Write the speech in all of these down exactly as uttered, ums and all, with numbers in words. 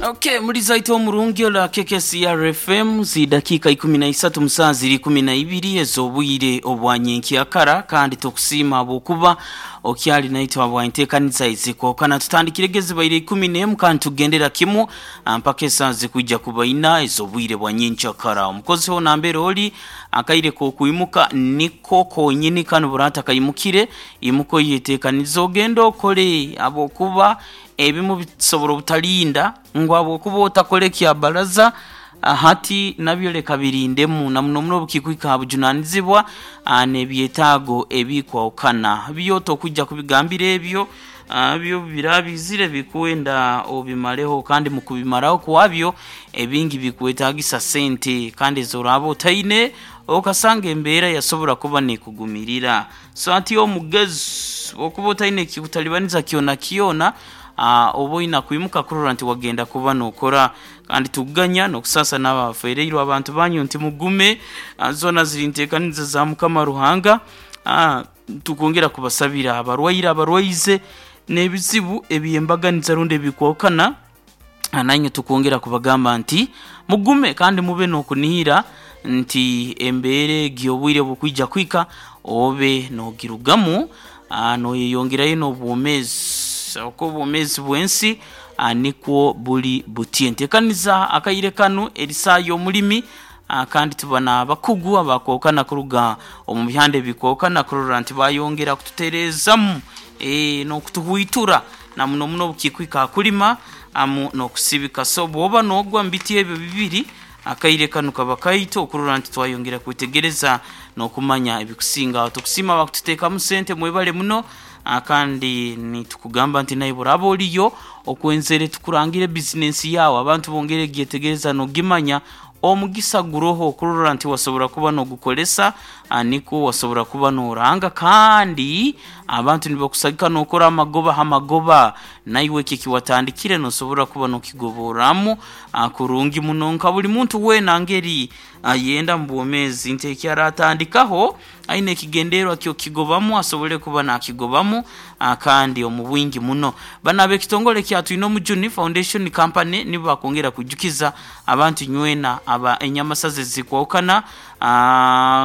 Okay, mulizaito omurungi ola K K C R F M zi dakika ikumi na isatu musaa ziri ikumi na ibiri ez'obwire obwanyenkyakara, kandi tukusiima habwokuba okyali naitwe habwanteekaniza ezikokana. Tutandikire gezibaire ikumi n'emu kandi tugendera kimu mpaka esaa zikwijja kuba ina ez'obwire bwa nyenkyakara. Omukozi ho nambere oli akaire k'okwimuka niko konyini kanu burata kaimukire imuko yeteekaniza ogenda okole habwokuba ebimu bisobora obutalinda ngu habwokuba otakole kya baraza hati nabyo leka birindemu na muno muno obukikwika bujunanizibwa n'ebyetaago ebikwawukana byo tokujja kubigambira ebyo byo birabizire bikwenda obimaleho, kandi mu kubimaraho kwabyo ebingi bikwetagisa sente kandi ezoraba otaine okasanga embeera yasobora kuba nekugumirira. So ati omugezi okuba otaine kikutalibaniza kyona kyona oba oina kwimuka kurora nti wagenda kuba nokora, kandi tuganya n'okusasa n'abafereirwe abantu banyu nti mugume zona ziri nteekaniza za Mukama Ruhanga. Tukongera kubasabira abarwaire abarwaize n'ebizibu ebyembaganiza rundi ebikwokana, nanywe tukongera kubagamba nti mugume kandi mube n'okunihira nti embeera egi obwire bukwija kwika obe nogirugamu noyeyongerayo n'obwomeezi oku obwomeezi bw'ensi nikwo buli buti. Nteekaniza akaire kanu erisaa y'omulimi, kandi tuba n'abakugu abakwokana kuruga omu bihanda ebikwokana kurora nti bayongera kututereezamu e, n'okutuhwitura na muno muno obukikwika kulima amu n'okusibika. So bw'oba n'ogwa mu biti ebyo bibiri akaire kanu kaba kaitu okurora nti twayongera kwetegereza n'okumanya ebikusinga. Tukusiima bakututeekamu sente mwebale muno, kandi nitukugamba nti naye buraba oliyo okwenzere tukurangire bizinensi yawe abantu bongere gyetegereza n'ogimanya omugisa guroho okurora nti wasobora kuba n'ogukolesa niko wasobora kuba n'oranga, kandi abantu nibakusagika n'okora amagoba hamagoba naiwe eki kiwatandikire nosobora kuba n'okigoboramu kurungi muno nka buli muntu weena ngeri ayenda mu bwomeezi nti eki aratandikaho aine ekigendererwa kyokigobamu asobole kuba nakigobamu kandi omu bwingi muno. Bana ab'ekitongole kya Twine Omujuni Foundation Company nibo bakwongera kwijukiza abantu nywena aba enyamasaza ezikwawukana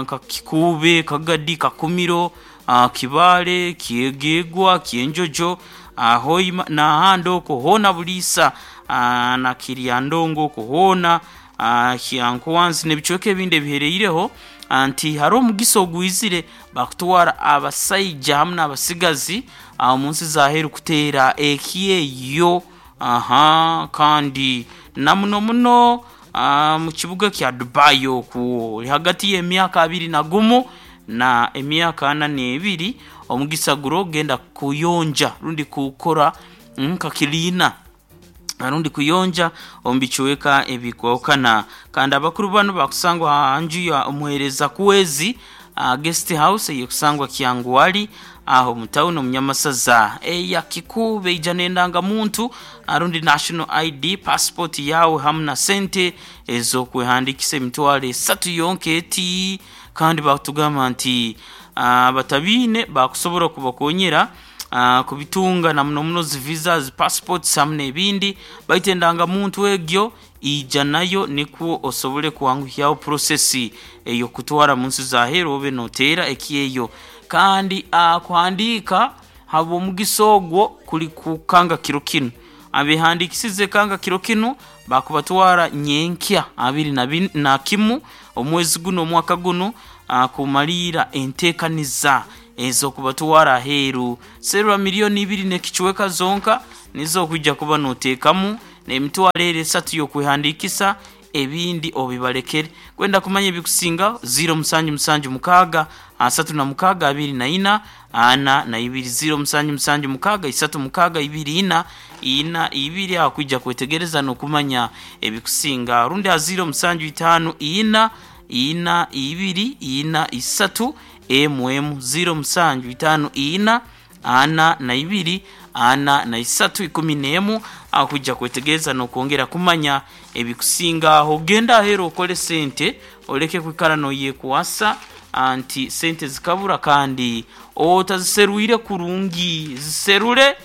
nka Kikuube, Kagadi, Kakumiro, Kibaale, Kyegegwa, Kyenjojo, Hoima n'ahandi okwo hoona Buliisa na Kiryandongo okwo hoona Kyankwanzi n'ebicweka ebindi ebihereireho nti hariho omugisa ogwizire bakutwara abasaija hamu n'abasigazi omu nsi z'aheeru kuteera ekyeyo aha kandi na muno muno mu kibuga kya Dubai okwo hagati y'emyaka abiri na gumu na emyaka ana n'ebiri omugisa guro genda kuyonja rundi kukora nka kiliina rundi kuyonja omu bicweka ebikwawukana. Kandi abakuru bano bakusangwa aha nju ya omuheereza Kwezi uh, guest house eyekusangwa Kyangwali aho mu town omu Nyamasaza eya Kikuube ija n'endangamuntu rundi national I D passport yawe hamu na sente ez'okwehandikisa emitwaro esatu yonka eti. Kandi bakutugamba nti abatabiine uh, bakusobora kubakonyera Uh, kubitunga na muno muno zi visas, passports hamu n'ebindi, baitu endangamuntu egyo ija nayo nikwo osobole kwanguhyaho process ey'okutwara mu nsi z'aheeru obe noteera ekyeyo. Kandi uh, kuhandiika habw'omugisa ogwo kuli kukanga kiro kinu, abehandikisize kanga kiro kinu bakubatwara nyenkya abiri na, na kimu omwezi guno omwaka guno uh, kumaliira enteekaniza ezokubatwara aheeru. Serwa miliyoni ibiri n'ekicweka zonka nizo okwijja kuba noteekamu n'emitwaro eri esatu y'okwehandikisa ebindi obibalekere. Kwenda kumanya ebikusinga ziro musanju musanju mukaaga asatu na mukaaga abiri na ina ana na ibiri ziro musanju musanju mukaaga isatu mukaaga ibiri ina ina ibiri aho kwijja kwetegereza n'okumanya ebikusinga, rundi a ziro musanju itaano ina ina ibiri ina isatu emu emu ziro musanju itaano ina ana na ibiri ana na isatu ikumi n'emu akujja kwetegereza n'okwongera kumanya ebikusinga aho. Genda aheeru okole sente oleke kwikara noyekwasa anti sente zikabura kandi otaziserwire kurungi, ziserure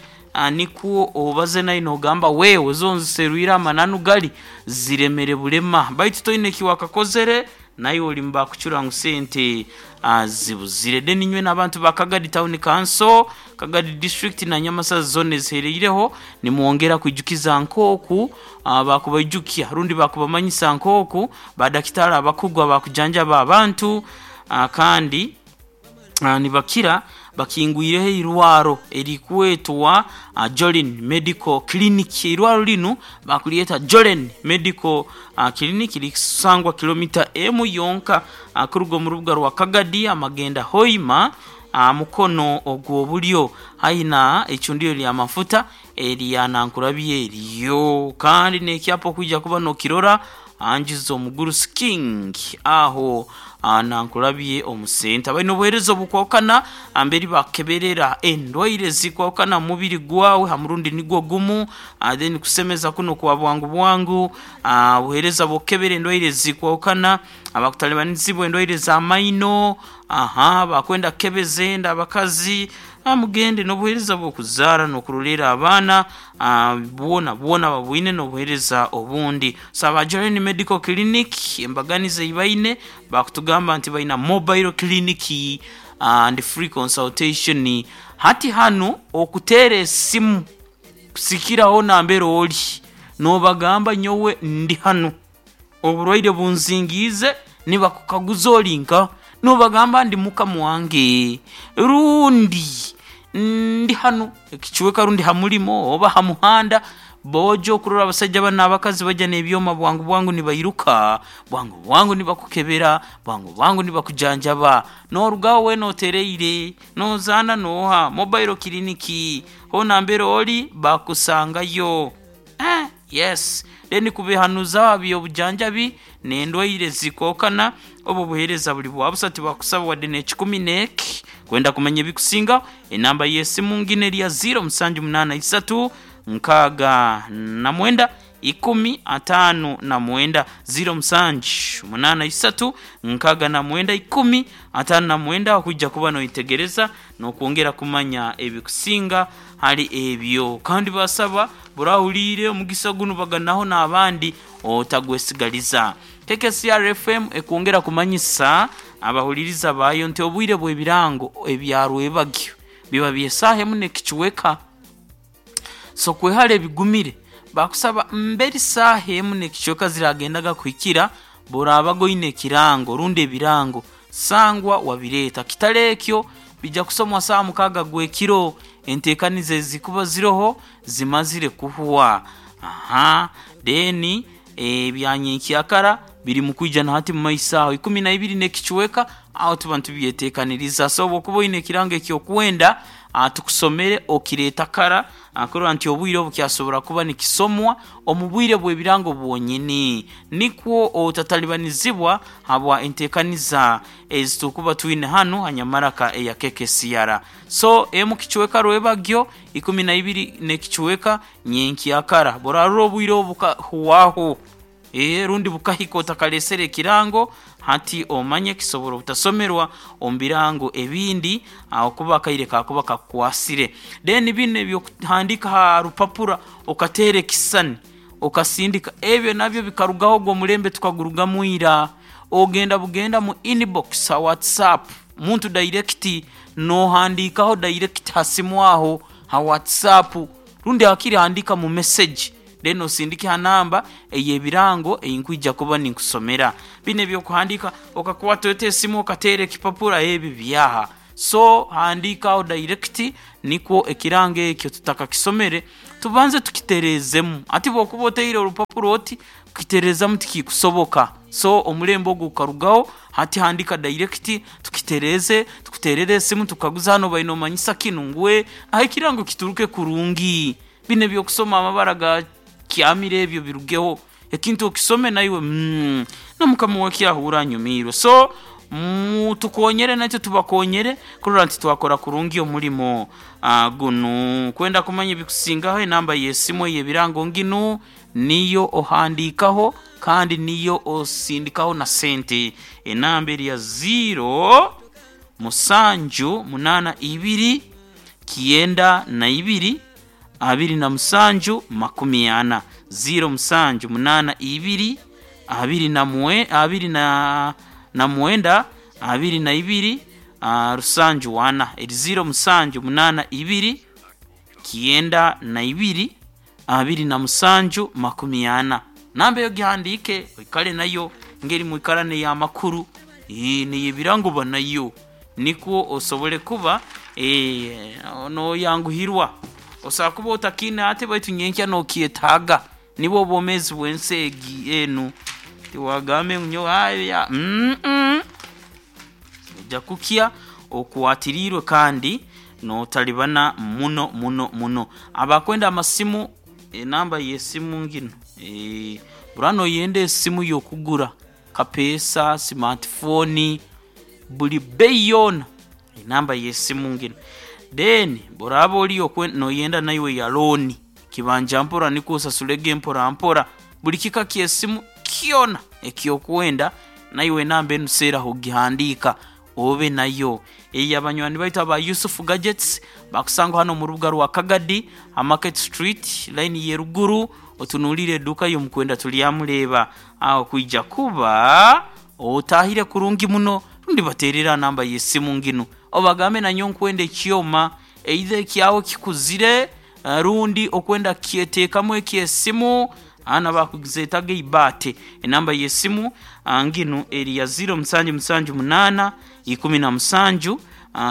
Nikwo obaze nayo nogamba wewe zonziserwire amananu gali ziremere bulema, baitu toine kiwakakozere nayo oli mubakucura ngu sente zibuzire. Then inywe n'abantu ba Kagadi Town Council, Kagadi District na Nyamasazi zone zihereireho, nimwongera kwijukiza nk'oku bakubaijukya rundi bakubamanyisa nk'oku badakitari abakugwa bakujanjaba abantu, kandi nibakira bakingwireho irwaro erikwetwa Jolin Medical Clinic. Irwaro linu bakulyeta Jolin Medical Clinic, likusangwa kilomita emu yonka kuruga omu rubuga rwa Kagadi amagenda Hoima, mukono ogw'obulyo haina icundiro lya mafuta erya Nankurabye eryo, kandi n'ekyapa okwija kuba nokirora anjiza omugurusi King aho Nankurabye omusenta. Balina obuheereza obukwahukana amberi bakeberera endwaire zikwahukana mu mubiri gwawe ha murundi nigwo gumu, then kusemeza kuno kwa bwangu bwangu, obuheereza bwokukebera endwaire zikwahukana, abakutalibanizibwa endwaire za maino, aha bakwenda kukebeza enda abakazi, mugende n'obuheereza bw'okuzaara n'okurolera abaana, bwona bwona babwine n'obuheereza obundi. So aba Jolin Medical Clinic embaganiza ei baine bakutugamba nti baina mobile clinic and free consultation. Hati hanu okuteera esimu kusikiraho nambere ori nobagamba nyowe ndi hanu oburwaire bunzingiize, nibakukaguza ori nka nobagamba ndi mukama wange rundi ndi hanu ekicweka rundi ha mulimo oba ha muhanda. Bojo okurora abasajja banu n'abakazi bajja n'ebyoma bwangu bwangu nibairuka bwangu bwangu nibakukebera bwangu bwangu nibakujanjaba, norugaho weena otereire nozaana noha mobile clinic hoona mbere ori bakusangayo. Eh, yes, then kubihanuza by'obujanjabi n'endwaire zikwahukana, obu obuheereza buli bwa busa tibakusaba wadde n'ekikumi n'eki. Kwenda kumanya ebikusingaho enamba y'esimu ngino eri ya ziro musanju munaana isatu nkaaga na mwenda ikumi ataano na mwenda, ziro musanju munaana isatu nkaaga na mwenda ikumi ataano na mwenda, okwija kuba noyetegereza n'okwongera kumanya ebikusinga hali ebyo. Kandi basaba burahuliire omugisa gunu baganaho n'abandi otagwesigaliza. K K C R F M ekwongera kumanyisa abahuliriza baayo nti obwire bw'ebirango ebyarwebagyo biba by'esaaha emu n'ekicweka, so kwehara ebigumire bakusaba mberi saaha emu n'ekicweka ziragendaga kuhikira burabaga oine ekirango rundi ebirango sangwa wabireeta, kitari ekyo bijja kusomwa saaha mukaaga gw'ekiro enteekaniza ezikuba ziroho zimazire kuhwa. Aha, then ebyanyenkyakara biri mu kwija na hati mu maiso aho ikumi na ibiri n'ekicweka aho tuba nitubyeteekaniriza. So bw'okuba oine ekirango ekyokwenda tukusomere okireeta kara kurora nti obwire obu kyasobora kuba nikisomwa omu bwire bw'ebirango bwonyini, nikwo otatalibanizibwa habwa enteekaniza ezitukuba twine hanu hanyamaraka eya K K C R. So emu kicweka rwebagyo ikumi na ibiri n'ekicweka nyenkyakara burarura obwire obu bukahuwaho, ee rundi bukahika otakalesere ekirango, hati omanye kisobora obutasomerwa omu birango ebindi ahakuba akaire kakuba kakukwasire. Then binu ebyokuhandika ha rupapura okateera ekisisani okasindika ebyo nabyo bikarugaho ogwo omulembe tukagurugamu ira. Ogenda bugenda mu inbox ha WhatsApp muntu direct nohandikaho direct ha simu aho ha WhatsApp rundi hakiri handika mu message then osindike ha namba ey'ebirango eyinkwija kuba ninkusomera. Binu ebyokuhandika okakwata ota esimu okateera ekipapura ebi byaha. So handikaho direct nikwo ekirango ekyo tutakakisomere tubanze tukitereezemu. Hati bw'okuba oteire orupapura oti kukitereezamu tikikusoboka, so omulembe ogwo gukarugaho. Hati handika direct tukitereeze, tukuteerere esimu tukukaguza hanu obaire nomanyisa kinu ngu aho ekirango kituruke kurungi. Binu ebyokusoma amabara ga kyamire ebyo birugeho, ekintu okisome naiwe mm, na mukama wakyahuura anyumiirwe. So mutukonyere naitwe tubakonyere kurora nti twakora kurungi omulimo gunu. Kwenda kumanya ebikusingaho enamba y'esimu ey'ebirango nginu niyo ohandikaho kandi niyo osindikaho na sente. Enamba eri ya ziro musanju munaana ibiri kyenda na ibiri abiri na musanju makumi ana ziro musanju munana ibiri abiri na mwe abiri na na mwenda abiri na ibiri uh, rusanju wana eri ziro musanju munana ibiri kienda na ibiri abiri na musanju makumi ana namba eyo gihandike oikale nayo ngeri mwikarane ya makuru niyibiranguba nayo nikwo osobole kuba e, noyanguhirwa osobola kuba otakine ate baitu nyenkya nokyetaaga nibwo obwomezi bwensi egi enu tiwagambe nyo aya mm -mm. Ojja kukya okwatirirwe kandi notalibana muno muno muno. Abakwenda amasimu, enamba yesimu ngino e, burano yenda esimu yokugura kapesa smartphone buli bei yona enamba yesimu ngino. Then buraba oli noyenda naiwe ya loan kibanja mpora niko osasulege mpora mpora buli kika kyesimu kyona ekyokwenda naiwe enamba enu seeraho gihandika obe nayo. Eyi abanywani baitu aba Yusuf Gadgets bakusanga hano mu rubuga rwa Kagadi Market Street line yeruguru otunulire eduka yomukwenda tulyamuleba aho kwija kuba otahire kurungi muno rundi baterera namba yesimu ngino obagambe nanyo nkwenda ekyoma either ekyawe kikuzire rundi okwenda kyeteekamu ekyesimu ana bakuzetaga ibate. Enamba yesimu nginu eri ya ziro musanju musanju munana ikumi na musanju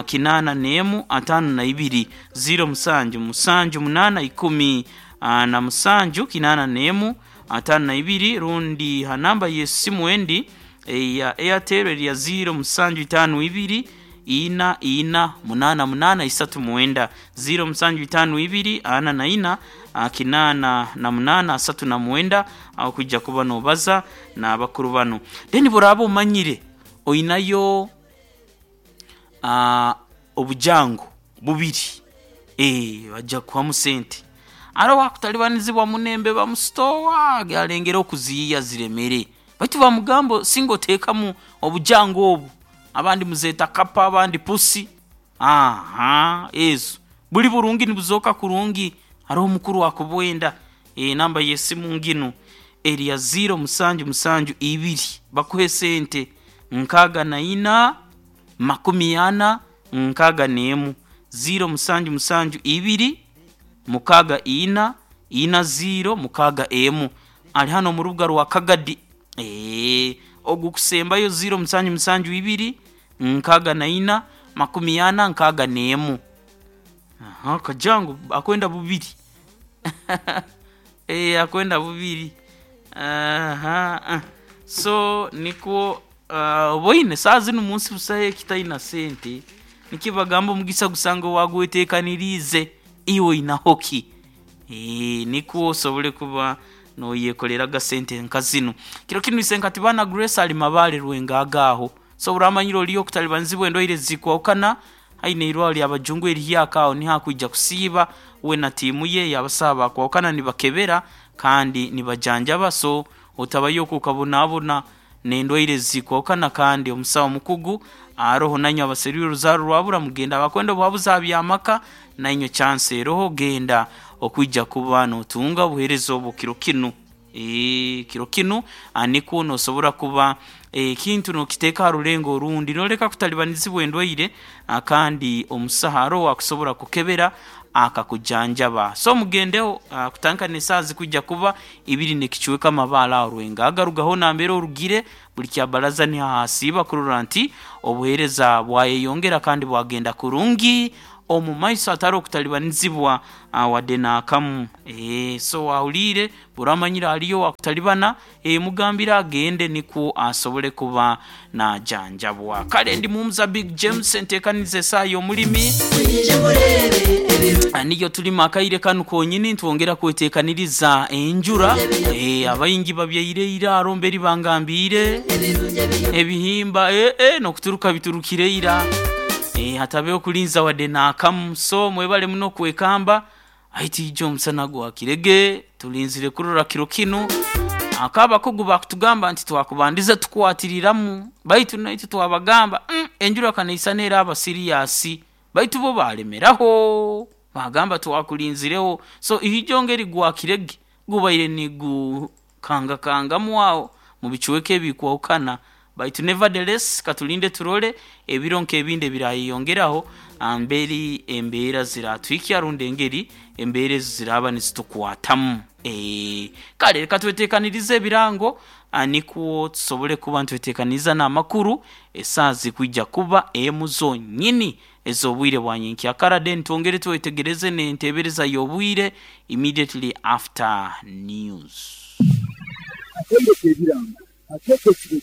kinana nemu atano na ibiri ziro musanju musanju munana ikumi na musanju kinana nemu atano na ibiri rundi hanamba yesimu endi ya Airtel eri ya ziro musanju itano ibiri ina ina munana munana isatu mwenda ziro musanju itano ibiri ana na ina kinana na munana asatu na mwenda aho kujya kuba nobaza na bakuru bano. Then buraba omanyire oinayo uh, obujango bubiri eh bajja kuhamu sente aro wakutalibanizibwa munembe bamustowa alengera okuziya ziremere baitu bamugambo singo tekamu obujango obu abandi muzeta kapa abandi pusi aha ezo buli burungi nibuzoka kurungi hariho omukuru wakubwenda. E, namba yesimu ngino eri ya ziro musanju musanju ibiri bakuhe sente nkaga na ina makumi ana nkaga nemu ziro musanju musanju ibiri mukaga ina ina ziro mukaga emu ali hano mu rubuga rwa Kagadi e, ogukusembayo ziro musanju musanju ibiri nkaga na ina makumi ana nkaga nemu. Aha, kajangu akwenda bubiri eh akwenda bubiri aha. So niko uh, boine saa zino munsi busaye kitaina sente nikibagamba omugisa gusanga wagwetekanirize iwe ina hoki eh niko osobole kuba noyekolera gasente nkazino kiro kinu isenkati bana Grace ali mabale rwengagaho so uramanyiro oliyo kutalibanzibwe endoire zikwawukana haine irwali abajungu eriyakao ni hakwijja kusiiba we na tiimu ye yabasaba kwawukana nibakebera kandi nibajanjaba so otabayo kukabonabona nendwaire zikwawukana kandi omusawo mukugu aroho nanyo abaserire oruzaaro rwabura mugenda abakwenda obuhabuzi abyamaka nanyo chance eroho genda okwijja kuba notunga obuheereza obwo kiro kinu e, kiro kinu nikwo nosobora kuba ekintu nokiteeka ha rulengo orundi noleka kutalibanizibwa endwaire kandi omusaharo akusobora kukebera akakujanjaba. So mugendeho kutandika n'esaaha zikwijja kuba ibiri nekichweka amabaala aho rwengaga rugaho nambere orugire buli kyabaraza nihahasiiba kurora nti obuheereza bwayeyongera kandi bwagenda kurungi omu maiso atari okutalibanizibwa wadde naakamu. E, so wahulire buramanyire aliyo wakutalibana e, mugambire agende nikwo asobole kuba najanjabwa. Kale ndi mumza Big James enteekaniza esaaha y'omulimi niyo tulima akaire kanu konyini ntwongera kweteekaniriza enjura e, abaingi babyaire ira mberi bangambiire ebihimba e, e, nokuturuka biturukire ira e, hatabeho kulinza wadde naakamu. So mwebale muno kwekamba aiti ijo omusana gwakirege tulinzire kurora kiro kinu akabakugu bakutugamba nti twakubandiza tukwatiriramu baitu naitu twabagamba mm, enjura kanaisana era abasiriyasi baitu bo balemeraho. Bagamba twakulinzireho. So ihijo ngeri gwakirege gubaire nigukangakangamu aho mu bicweka ebikwahukana, baitu nevertheless katulinde turole ebiro nk'ebindi ebirayeyongeraho amberi embeera ziratuhikya rundi engeri embeera ezo ziraaba nizitukwatamu. Eeh kale reka tweteekanirize ebirango nikwo tusobole kuba nitweteekaniza n'amakuru esaaha zikwija kuba emu zonyini ez'obwire bwa nyenkyakara, then twongere twetegereze n'enteebereza y'obwire immediately after news. Akaire k'ebirango akeekesire.